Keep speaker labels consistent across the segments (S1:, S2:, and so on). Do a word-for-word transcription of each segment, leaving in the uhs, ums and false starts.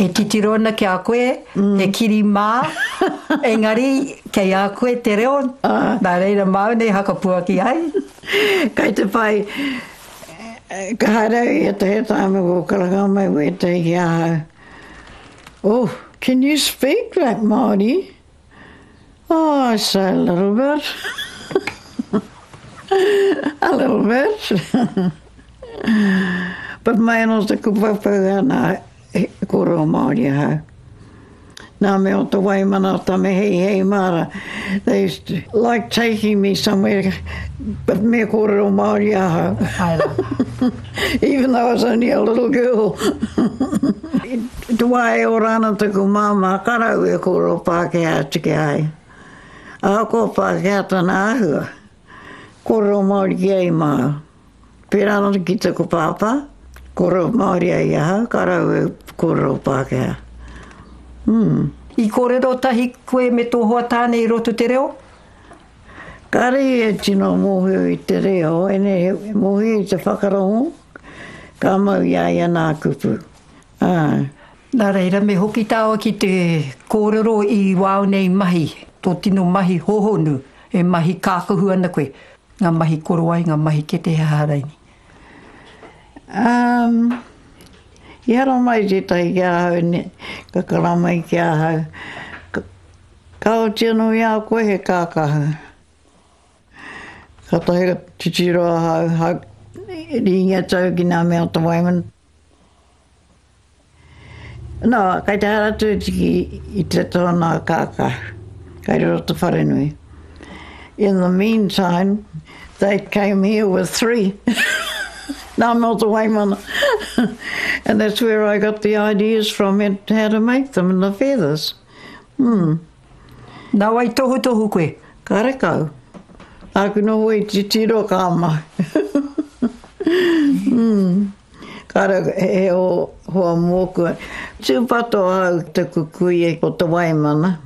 S1: E titiro ana ki a koe, he kiri mā, engari kei a koe te reo, nā reira māu nei hakapuaki ai.
S2: Kei te pai, ka haere au i ētahi tāme ko karanga mai wētahi ki ahau. Oh, can you speak like Māori? Oh, I say a little bit. A little bit. But mai anō taku paupau ana kōrero Māori ahau. Nā me o te Waimana o Tame Hei Hei Mara. They used to like taking me somewhere, but me kōrero Māori ahau. Even though I was only a little girl. I te wā e ora ana taku māmā, ka rau e kōrero Pākehā atu ki a ia. Ahakoa Pākehā tana āhua, kōrero Māori ki ai māu. Pērā anō ki taku pāpā, kōrero Māori ai ahau, ka rau e kōrero Pākehā. Mm.
S1: I kōrero tahi koe me tō hoa tāne i roto te reo?
S2: Kāre e tino mōhio i te reo, ene he mōhio i te whakarongo, ka mau i a ia nā kupu. Ā.
S1: Nā reira, me hoki tāua ki te kōrero i wāu nei mahi, tō tino mahi hohonu, e mahi kākahu ana koe, ngā mahi korowai, ngā mahi kete he aha raini.
S2: Um, i hara mai tētahi ki ahau, ne, ka kara mai ki ahau. Ka, ka oti anō i a koe he kākahu. Ka tahi ka titiro ahau, hau, ringa tau ki ngā mea o te Waimana. No, kai te haere atu ki i te tōna kākahu, kai roto te wharenui. In the meantime, they came here with three. Nā mea o te Waimana. And that's where I got the ideas from and how to make them and the feathers. Mm.
S1: Nā wai tohutohu koe?
S2: Karekau. Āku noho i titiro ka mahi. mm. Kare he o hoa mōku. Tūpato ahau taku kuia o te Waimana.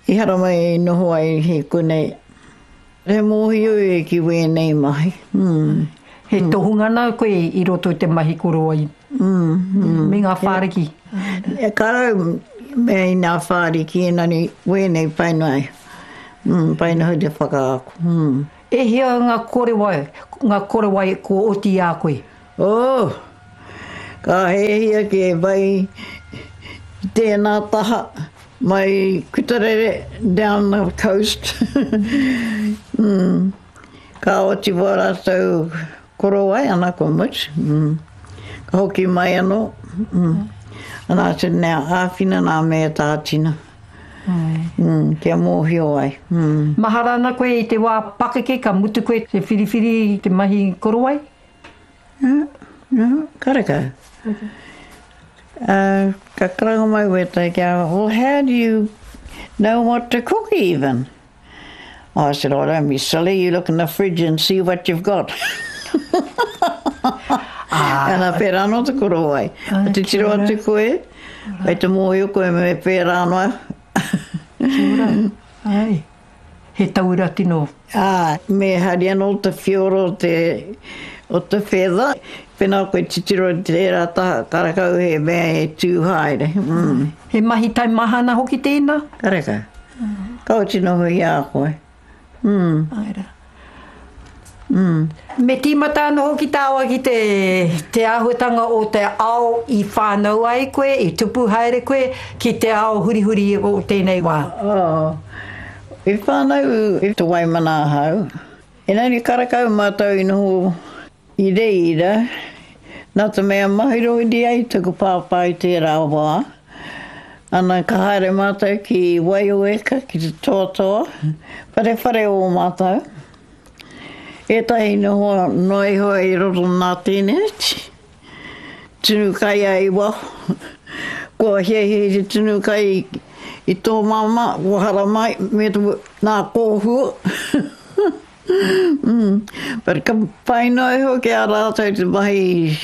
S2: I hara mai i noho ai he konei. He mōhio e ki wēnei mahi. Mm.
S1: He tohunga nā koe i roto i te mahi korowai.
S2: Mm, mm.
S1: Me ngā whāriki.
S2: E karau me i ngā whāriki engari wēnei pai noa. Mm, pai noa te whakaako. Mm.
S1: E hia ngā korowai, ngā korowai ko oti i a koe?
S2: Oh, ka hehia ki e vai tēnā taha mai Kutarere down the coast. mm. Ka oti wā rātou korowai ana ko mutu. Mm. Ka hoki mai anō. Mm. Ana atu nea āwhina nā mea tātina. Mm, kia mōhio ai. Mm.
S1: Mahara ana koe i te wā pakeke ka mutu koe te whiriwhiri i te mahi korowai?
S2: No, no, karekau. Uh, ka karanga mai wētahi ki a, well, how do you know what to cook even? I said, oh, don't be silly, you look in the fridge and see what you've got. Ah. Ana pērā anō te korowai. Ah, te tiro atu koe, kai te mōhio koe me pērā noa.
S1: Kia ora. Ai. He tauira tino.
S2: Ā, me hari anō te whioro o te, o te feather. Pēnā koe titiro i tērā taha, karekau he mea e tū haere. Mm.
S1: He mahi taimahana hoki tēnā?
S2: Karekau. Ka oti noho i a koe. Mm.
S1: Ai rā.
S2: Mm.
S1: Me tīmata anō hoki tāua ki te, te āhuatanga o te ao i whānau ai koe, i tupu haere koe, ki te ao hurihuri o tēnei wā.
S2: Oh. I whānau i te Waimana ahau. Engari karekau mātou i noho i reira, nā te mea mahirohiri ai taku pāpā i tērā wā. Ana ka haere mātou ki Waioeka, ki te toatoa, wharewhare o mātou. Ētahi noho noa iho i roto nā tēneti. Tunu kai ai i waho. Kua hiahia i te tunu kai i tō māmā, kua haramai, me te nā kōhua. mm. But ka pai noa iho ki a rātou te mahi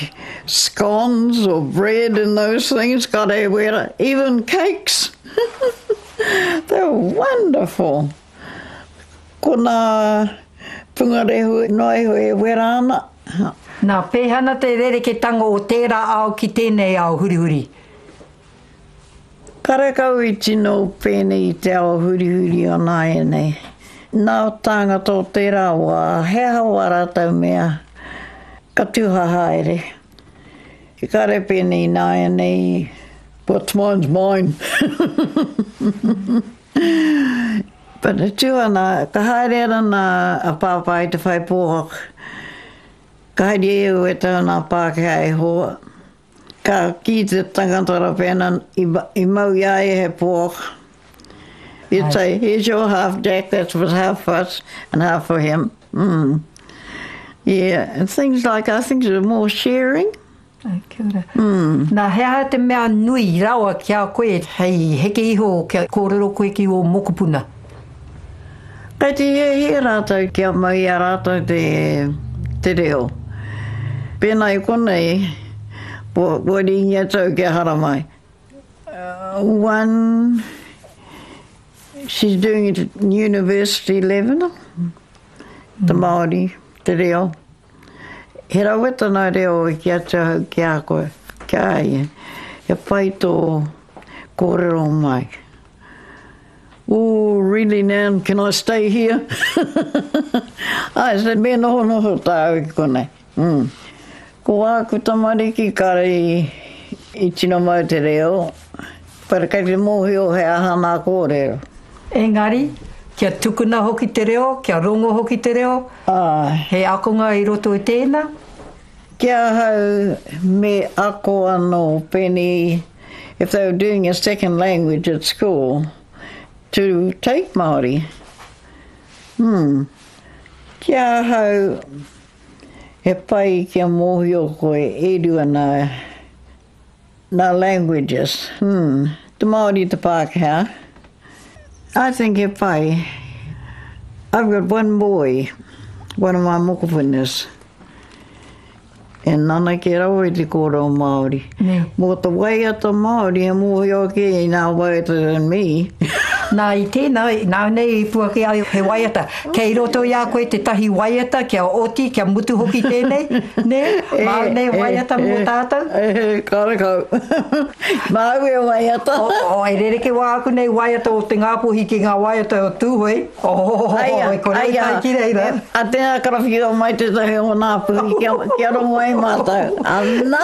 S2: scones or bread and those things, ka rewera, even cakes. They were wonderful. Ko nā pungarehu noa iho e wera ana.
S1: Nā, pēhea ana te rereketanga o tērā ao ki tēnei ao hurihuri?
S2: Karekau i tino pēnei i te ao hurihuri o nāianei. Nā tāngata o tērā wā, he aha wā rātou mea, ka tuha haere. Kare pēnei nāianei, what's mine's mine. But e tū ana, ka haere ana nā a Pāpā i te whai pōhaka. Ka haere e au e tau nā Pākehā e hoa. Ka kī te tangata ra pēnā i, i mau i a ia he pōhaka. You'd say, here's your half, Jack, that was half for us and half for him. Mm. Yeah, and things like, I think there's more sharing.
S1: Ai, kia ora. Mm. Nā, he aha te mea nui rawa ki a koe hei heke iho kia kōrero koe ki ō mokopuna?
S2: Kei te hiahia rātou kia mau i a rātou te, te reo. Pēnā i konei, kua, kua rīngi atu au kia haramai. Uh, one, she's doing it at university level, te Māori, te reo. He rawe tana reo i ki atu ahau ki a koe, ki a ia. He pai tō kōrero mai. Oh, really, Nan, can I stay here? I said, me noho noho tāu i konei. Mm. Ko āku tamariki kare i, i tino mau te reo, but kei te mōhio he aha nā kōrero.
S1: Engari, kia tukuna hoki te reo, kia rongo hoki te reo,
S2: Ai.
S1: he akonga i roto i tēnā?
S2: Ki ahau me ako anō pēnei, if they were doing a second language at school, to take Māori. Hmm. Ki ahau, he pai kia mōhio koe e rua nā, nā languages. Hmm. Te Māori te Pākehā. I think he pai. I've got one boy, one of my mokopunas. E nana ke rawa i te kōrero Māori.
S1: Nē.
S2: Mō te waiata Māori, he mōhio ake i nā waiata than me.
S1: Nā, i tēnā, nā nei i puaki ai he waiata. Kei roto i a koe tētahi waiata, kia oti, kia mutu hoki tēnei, nē? Māu nei waiata mō tātou?
S2: E, e, karekau. Māu e waiata.
S1: O, o, e rereke wā aku nei waiata o te Ngāpuhi ki ngā waiata o Tūhoe. Oh,
S2: Aia,
S1: e kore
S2: aia.
S1: tai ki reira.
S2: A tēnā karawhiua mai tētahi o ngā puhi kia, kia rongo ai mātou. Ana!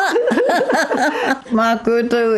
S2: Mā koutou